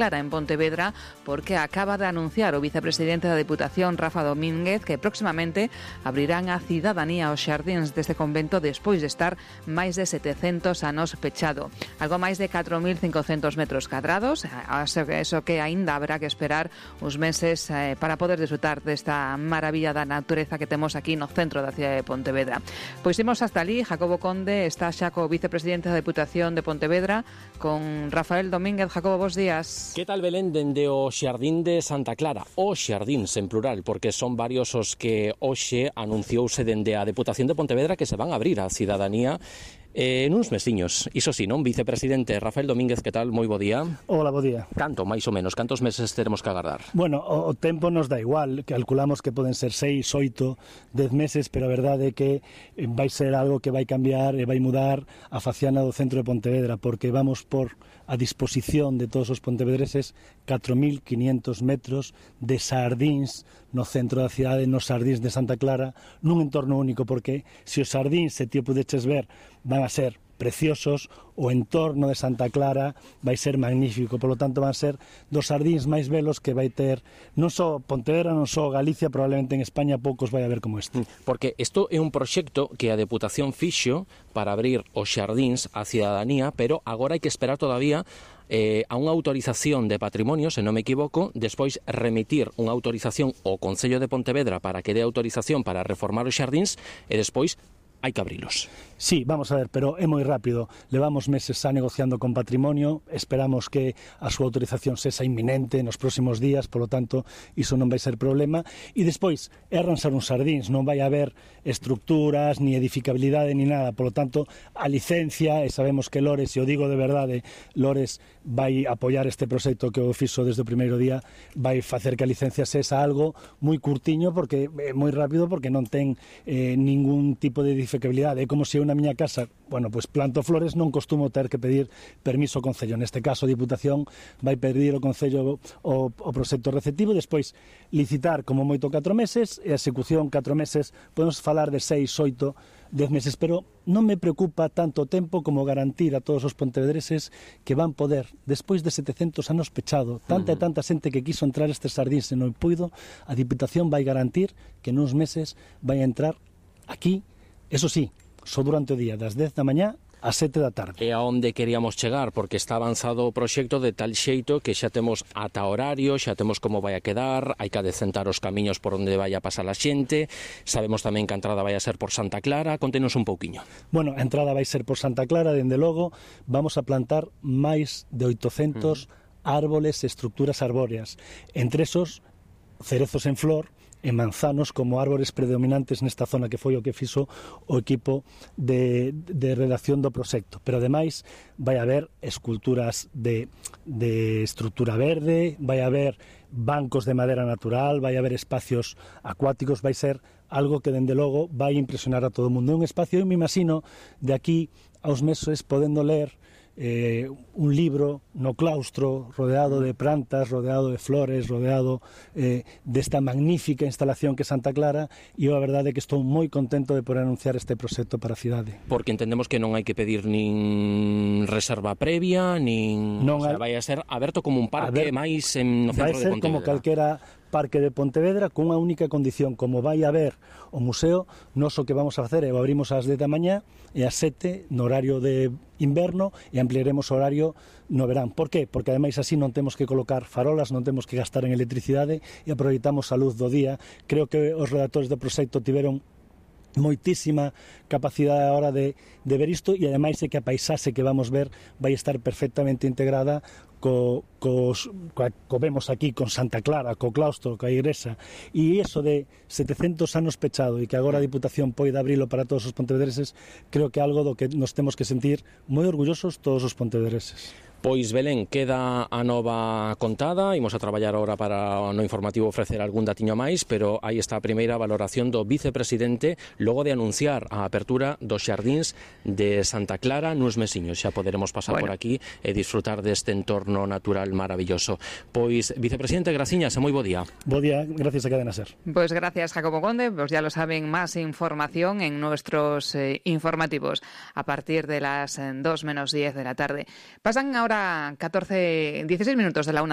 Clara en Pontevedra, porque acaba de anunciar o vicepresidente da Deputación, Rafa Domínguez, que próximamente abrirán a cidadanía os xardíns deste convento despois de estar máis de 700 anos pechado. Algo máis de 4.500 metros cadrados, eso que aínda haberá que esperar uns meses para poder disfrutar desta maravilla da natureza que temos aquí no centro da cidade de Pontevedra. Pois imos hasta ali. Jacobo Conde está xa co vicepresidente da Deputación de Pontevedra, con Rafael Domínguez. Jacobo, bos días. Que tal, Belén, dende o Xardín de Santa Clara? Os xardíns en plural, porque son varios os que hoxe anunciouse dende a Deputación de Pontevedra que se van a abrir á cidadanía nuns mesiños. Iso sí, non, vicepresidente Rafael Domínguez, que tal? Moi bo día. Hola, bo día. Canto, máis ou menos, cantos meses teremos que agardar? Bueno, o tempo nos dá igual, calculamos que poden ser 6, 8, 10 meses, pero a verdade é que vai ser algo que vai cambiar e vai mudar a faciana do centro de Pontevedra, porque vamos por a disposición de todos os pontevedreses 4.500 metros de xardíns no centro da cidade, nos xardíns de Santa Clara, nun entorno único, porque se os xardíns, se ti o pudeches ver, van a ser preciosos, o entorno de Santa Clara vai ser magnífico, polo tanto van ser dos xardíns máis belos que vai ter non só Pontevedra, non só Galicia, probablemente en España poucos vai haber como este. Porque isto é un proxecto que a Deputación fixo para abrir os xardíns á cidadanía, pero agora hai que esperar todavía a unha autorización de patrimonio, se non me equivoco, despois remitir unha autorización ao Concello de Pontevedra para que dé autorización para reformar os xardíns e despois hai que abrilos. Sí, vamos a ver, pero é moi rápido. Levamos meses xa negociando con patrimonio, esperamos que a súa autorización sexa inminente nos próximos días, polo tanto, iso non vai ser problema. E despois, é arranxar uns xardíns, non vai haber estructuras, ni edificabilidade, ni nada. Polo tanto, a licencia, e sabemos que Lores, e o digo de verdade, Lores vai apoiar este proxecto que o fixo desde o primeiro día, vai facer que a licencia sexa algo moi curtiño, porque é moi rápido, porque non ten ningún tipo de edificabilidade. É como se eu na miña casa, bueno, pois planto flores, non costumo ter que pedir permiso ao Concello. Neste caso, a Diputación vai pedir ao Concello o proxecto receptivo, despois licitar como moito 4 meses, e a execución 4 meses, podemos falar de 6, 8, 10 meses, pero non me preocupa tanto tempo como garantir a todos os pontevedreses que van poder, despois de 700 anos pechado, tanta e tanta xente que quiso entrar estes xardíns e non puido, a Diputación vai garantir que nuns meses vai entrar aquí. Eso sí, só durante o día, das 10 da mañá ás 7 da tarde. E a onde queríamos chegar, porque está avanzado o proxecto de tal xeito que xa temos ata horario, xa temos como vai a quedar, hai que adecentar os camiños por onde vai a pasar a xente, sabemos tamén que a entrada vai a ser por Santa Clara. Contenos un pouquiño. Bueno, a entrada vai ser por Santa Clara, dende logo, vamos a plantar máis de 800 árboles e estructuras arbóreas, entre esos cerezos en flor, e manzanos como árbores predominantes nesta zona, que foi o que fixo o equipo de redacción do proxecto. Pero ademais vai haber esculturas de estructura verde, vai haber bancos de madera natural, vai haber espacios acuáticos, vai ser algo que dende logo vai impresionar a todo o mundo. É un espacio, eu me imagino, de aquí aos meses podendo ler un libro no claustro, rodeado de plantas, rodeado de flores, rodeado desta magnífica instalación que é Santa Clara, e a verdade é que estou moi contento de poder anunciar este proxecto para a cidade. Porque entendemos que non hai que pedir nin reserva previa, nin... Non, o sea, vai a ser aberto como un parque máis no centro de Pontevedra. Vai ser como calquera parque de Pontevedra, con unha única condición: como vai haber o museo, nós o que vamos a facer é o abrimos ás 10 da mañá e ás 7 no horario de inverno, e ampliaremos o horario no verán. Por qué? Porque ademais así non temos que colocar farolas, non temos que gastar en electricidade e aproveitamos a luz do día. Creo que os redactores do proxecto tiveron moitísima capacidade a hora de ver isto, e ademais é que a paisaxe que vamos ver vai estar perfectamente integrada co vemos aquí con Santa Clara, co claustro, coa igrexa, e iso de 700 anos pechado e que agora a Diputación poida abrilo para todos os pontevedreses, creo que é algo do que nos temos que sentir moi orgullosos todos os pontevedreses. Pois, Belén, queda a nova contada, imos a traballar ahora para no informativo ofrecer algún datiño máis, pero aí está a primeira valoración do vicepresidente logo de anunciar a apertura dos xardíns de Santa Clara nuns mesiños. Xa poderemos pasar por aquí e disfrutar deste entorno natural maravilloso. Pois, vicepresidente, graciñas e moi bo día. Bo día, gracias a Cadena Ser. Pues gracias, Jacobo Conde. Pues ya lo saben, más información en nuestros informativos a partir de las 2 menos 10 de la tarde. Pasan ahora hora 16 minutos de la 1.